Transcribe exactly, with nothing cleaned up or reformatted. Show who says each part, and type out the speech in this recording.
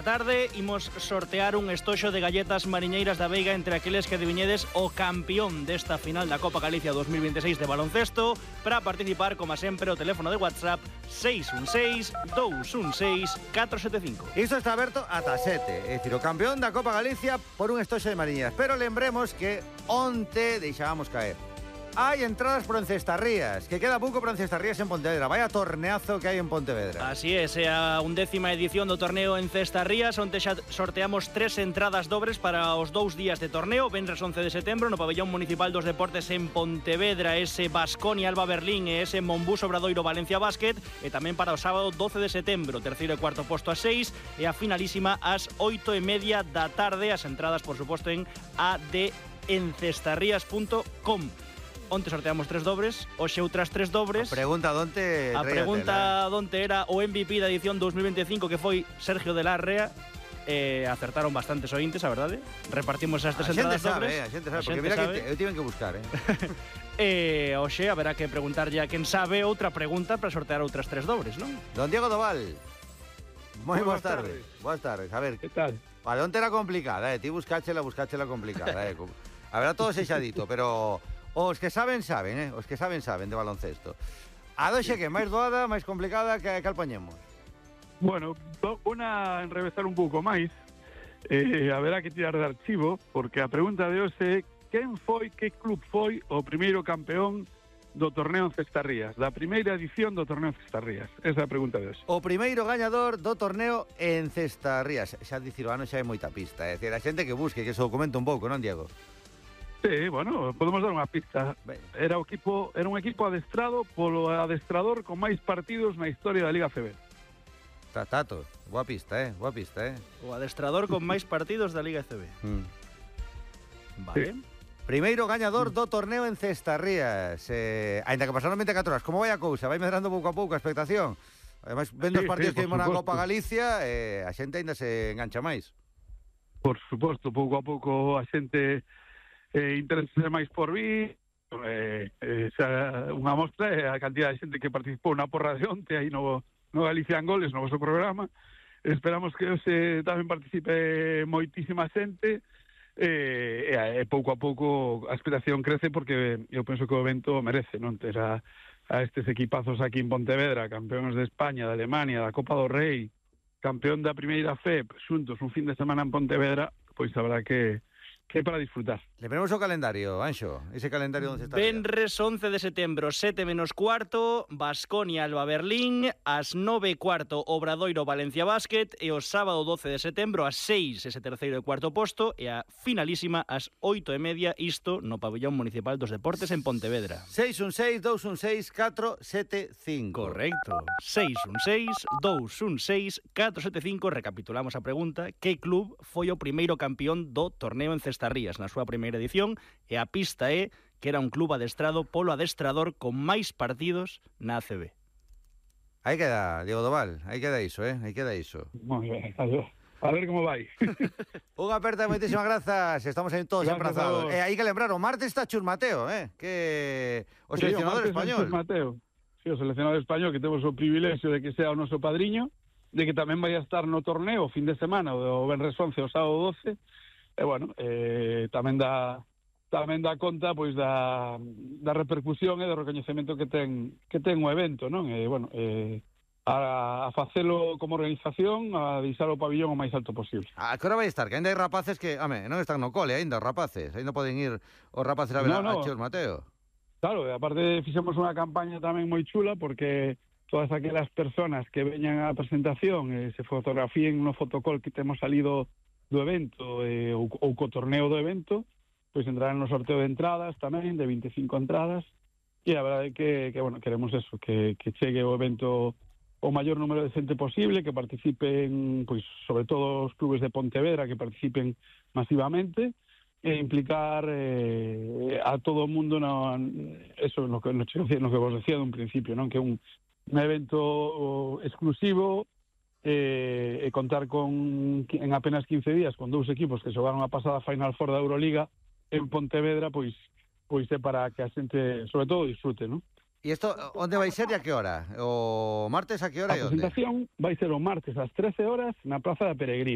Speaker 1: Tarde imos sortear un estoxo de galletas mariñeiras da Veiga entre aqueles que adiviñedes o campeón desta final da Copa Galicia dos mil veintiséis de baloncesto. Para participar, como sempre, o teléfono de WhatsApp seis un seis, dous un seis, catro sete cinco.
Speaker 2: Isto está aberto ata sete, é dicir, o campeón da Copa Galicia por un estoxo de mariñeiras. Pero lembremos que onte deixábamos caer. Hai entradas por Encestarrías, que queda pouco por Encestarrías en Pontevedra. Vaya torneazo que hai en Pontevedra.
Speaker 1: Así é, é a undécima edición do torneo Encestarrías, onde xa sorteamos tres entradas dobres para os dous días de torneo. Venres once de setembro no Pabellón Municipal dos Deportes en Pontevedra, ese Baskonia Alba Berlín e ese Monbus Obradoiro Valencia Basket, e tamén para o sábado doce de setembro, terceiro e cuarto posto a seis, e a finalísima ás oito e media da tarde. As entradas, por suposto, en a d encestarrías punto com. Onte sorteamos tres dobres, hoxe outras tres dobres.
Speaker 2: A pregunta donte...
Speaker 1: A pregunta donte era o M V P da edición dos mil veinticinco, que foi Sergio de la Rea. Eh, acertaron bastantes ointes, a verdade. Repartimos as tres entradas
Speaker 2: dobres.
Speaker 1: dobres.
Speaker 2: A xente sabe, a xente porque mira sabe. Que eu tiven que buscar, eh.
Speaker 1: E hoxe haberá que preguntarlle a quen sabe outra pregunta para sortear outras tres dobres, non?
Speaker 2: Don Diego Doval. Moi boas tardes. Boas tardes. A ver,
Speaker 3: que tal?
Speaker 2: Vale, onte era complicada, eh. Ti buscáchela, buscáchela complicada, eh. A ver, todo sexadito, pero... Os que saben, saben, eh? Os que saben, saben de baloncesto. A doxe que máis doada, máis complicada, que cal poñemos?
Speaker 3: Bueno, unha enrevesar un pouco máis. Eh, haberá que tirar de archivo, porque a pregunta de hoxe é quen foi, que club foi o primeiro campeón do torneo Encestarrías, da primeira edición do torneo Encestarrías. Esa é a pregunta de hoxe.
Speaker 2: O primeiro gañador do torneo Encestarrías. Xa dicir o ano xa é moita pista, é dicir, a xente que busque, que se documenta un pouco, non, Diego?
Speaker 3: Sí, bueno, podemos dar unha pista. Era o equipo, era un equipo adestrado polo adestrador con máis partidos na historia da Liga C B.
Speaker 2: Tato, boa pista, eh, boa pista, eh.
Speaker 1: O adestrador con máis partidos da Liga C B.
Speaker 2: Mm.
Speaker 1: Vale.
Speaker 2: Sí. Primeiro gañador do torneo Encestarrías. Eh, ainda que pasaron vinte e catro horas, como vai a cousa? Vai medrando pouco a pouco a expectación. Ademais, vendo sí, os partidos sí, que vimos na Copa Galicia, eh, a xente ainda se engancha máis.
Speaker 3: Por suposto, pouco a pouco a xente eh, interesa máis por vir. Eh, eh, xa, unha mostra é a cantidad de xente que participou na porra de onte aí no, no Galicia en Goles, no vosso programa. Esperamos que hoxe tamén participe moitísima xente. E, e, e pouco a pouco a expectación crece, porque eu penso que o evento merece, non? Ter a, a estes equipazos aquí en Pontevedra, campeóns de España, de Alemania, da Copa do Rei, campeón da primeira F E P, xuntos un fin de semana en Pontevedra, pois habrá que que para disfrutar.
Speaker 2: Le ponemos o calendario, Anxo, ese calendario onde está.
Speaker 1: Venres once de setembro, sete menos cuarto, Baskonia Alba Berlín, ás nove e cuarto Obradoiro Valencia Basket, e o sábado doce de setembro ás seis ese terceiro e cuarto posto, e a finalísima ás oito e media, isto no Pabellón Municipal dos Deportes en Pontevedra.
Speaker 2: seis un seis, dous un seis, catro sete cinco.
Speaker 1: Correcto. seis un seis, dous un seis, catro sete cinco. Recapitulamos a pregunta: que club foi o primeiro campeón do torneo Encestarrías na súa primeira edición? E a pista é que era un club adestrado polo adestrador con máis partidos na A C B.
Speaker 2: Aí queda, Diego Doval, aí queda iso, eh? Aí queda iso.
Speaker 3: Moi ben, a ver como vai.
Speaker 2: Unha aperta, moitísimas grazas. Estamos aí todos
Speaker 3: gracias
Speaker 2: emprazados. E eh, hai que lembrar, o martes está Chus Mateo, eh? Que o sí, seleccionador
Speaker 3: o
Speaker 2: español.
Speaker 3: Chus Mateo. Sí, o seleccionador español, que temos o privilexio de que sea o noso padriño, de que tamén vai a estar no torneo o fin de semana, o Venres once, o sábado doce. E, bueno, eh, tamén dá tamén dá conta, pois, da, da repercusión e do recoñecemento que ten que ten o evento, non? E, bueno, eh, a, a facelo como organización, a deixar o pabillón o máis alto posible.
Speaker 2: A que hora vai estar? Que ainda hai rapaces que, ame, non están no cole ainda, os rapaces. Ainda poden ir os rapaces a ver no, no. a Chus Mateo.
Speaker 3: Claro, e aparte fixemos unha campaña tamén moi chula, porque todas aquelas personas que veñan á presentación e se fotografíen no fotocall que temos salido do evento eh, ou, ou co torneo do evento, pois entrarán no sorteo de entradas tamén, de veinticinco entradas, e a verdade é que, que bueno, queremos eso, que, que chegue o evento o maior número de xente posible, que participen, pois, sobre todo os clubes de Pontevedra, que participen masivamente, e implicar eh, a todo o mundo no, eso, no que, no, no que vos decía dun principio, non? Que é un, un evento exclusivo, E, e contar con en apenas quince días con dous equipos que xogaron a pasada Final Four da Euroliga en Pontevedra, pois pois é para que a xente, sobre todo, disfrute, non?
Speaker 2: E isto, onde vai ser e a que hora? O martes a que hora
Speaker 3: A
Speaker 2: e onde?
Speaker 3: presentación vai ser o martes ás trece horas na Praza da Peregrina.